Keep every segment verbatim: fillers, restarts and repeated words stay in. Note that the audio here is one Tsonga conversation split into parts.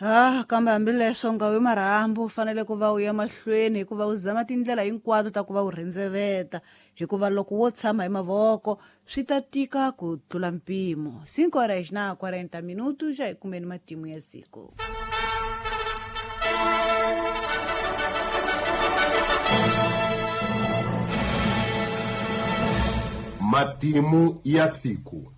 Ah, kambe hambileswo nga wi marhambu u fanele ku va u ya mahlweni hikuva u zama tindlela hinkwato ta ku va u rhendzeveta hikuva loko wo tshama hi mavoko swi ta tika ku tlula mpimo. Cinco horas na quarenta minutos já kumeni matimu ya siku. Matimu ya siku.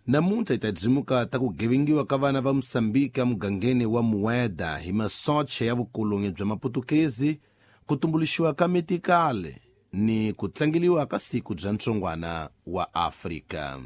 Namuntlha hi ta dzimuka ta ku gevengiwa ka vana va Mosambiki emugangeni wa Mueda hi masocha ya vukolonyi bya Maputukezi, ku tumbuluxiwa ka metikale ni ku tlangeliwa ka siku bya ntsongwana wa Afrika.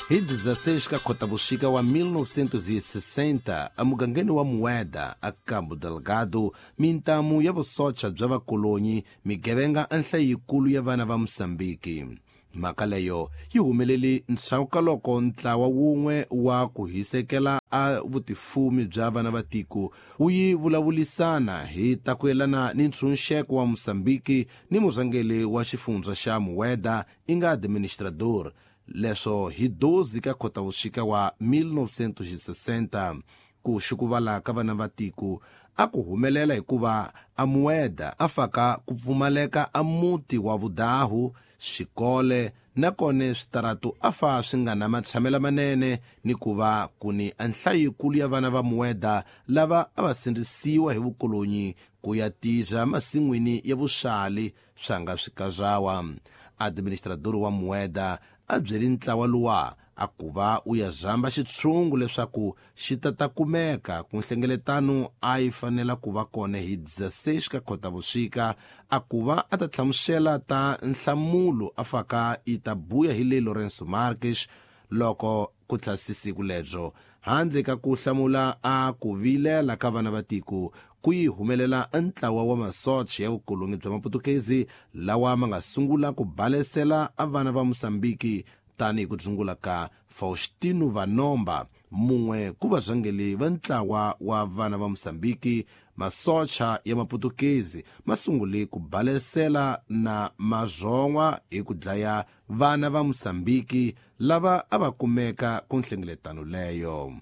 Hi dezesseis ka Khotavuxika wa mil novecentos e sessenta, emugangeni wa Mueda, a Cabo Delgado, mintamu ya vusocha bya vakolonyi migevenga enhla yikulu ya vana va Mosambiki. Mhaka leyo yi humelele ndzhaku ka loko ntlawa wun'we wa ku hisekela a vutifumi bya vana va tiko wu yi vulavulisana hi ta ku yelana ni ntshunxeko wa Mosambiki ni murhangeri wa xifundza xa Mueda i nga administrador. Leswo hi doze ka Khotavuxika wa mil novecentos e sessenta, ku xukuvala ka vana va tiko a ku humelela hikuva a Mueda a faka ku pfumaleka a muti wa vudahu, xikole nakone switaratu a fa swi nga na matshamelo manene ni ku va ku ni nhlayo yikulu ya vana va Mueda lava a va sindzisiwa hi vukolonyi ku ya tirha masin'wini ya vuxali swa nga swikazawa. Administrador wa Mueda a byeli ntlawa luwa a ku va u ya zamba xitshungu leswaku xi ta ta kumeka ku nhlengeletano a yi fanela ku va kona hi dezesseis ka Khotavuxika, a ku va a ta hlamusela ta nhlamulo a faka yi ta buya hi le Lourenço Marques loko ku tlhasi siku lebyo. Handle ka ku hlamula a ku vilela ka vana va tiko ku yi humelela ntlawa wa masocha ya vukolonyi bya Maputukezi lawa ma nga sungula ku balesela a vana va Mosambiki tanihi ku dzungula ka Faustino Vanomba, mun'we ku varhangeri va ntlawa wa vana va Mosambiki. Masocha ya Maputukezi ma sungule ku balesela na mazon'wa hi ku dlaya vana va Mosambiki lava a va kumeka ku nhlengeletano leyo.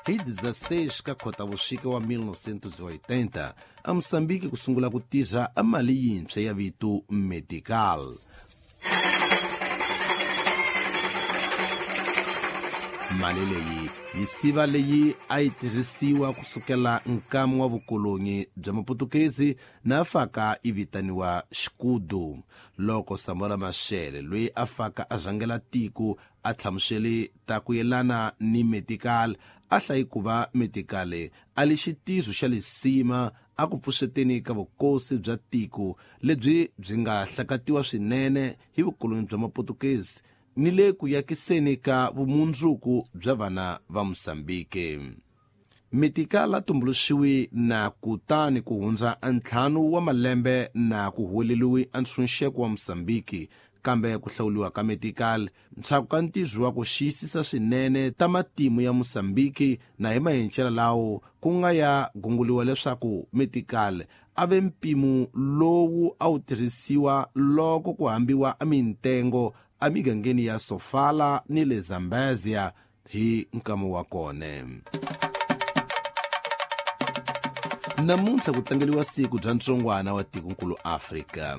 Hi dezesseis ka Khotavuxika wa mil novecentos e oitenta, a Mosambiki ku sungula ku tirha a mali yintshwa ya vito Metical. Mali leyi yi siva leyi a yi tirhisiwa ku sukela nkamu wa vukolonyi bya Maputukezi na faka yi vitaniwa Xikudu. Loko Samora Machel loyi a faka a rhangela tiko a hlamusele ta ku yelana ni Metical, a hlayi ku va Metical a li xitirho xa lisima a ku pfuxeteni ka vukosi bya tiko lebyi byi nga hlakatiwa swinene hi vukolonyi bya Maputukezi ni le ku yakiseni ka vumundzuku bya vana va Mosambiki. Metical a tumbuluxiwi na kutani ku hundza ntlhanu wa malembe na ku huweleriwi a ntshunxeko wa Mosambiki, kambe ku hlawuriwa ka Metical ndzhaku ka ntirho wa ku xiyisisa swinene ta matimu ya Mosambiki na hi mahencela lawo ku nga ya gunguliwa leswaku Metical a ve mpimo lowu a wu tirhisiwa loko ku hambiwa a mintengo emigangeni ya Sofala ni le Zambezia hi nkama wa kona. Namuntlha ku tlangeliwa siku bya ntsongwana wa tikonkulu Afrika.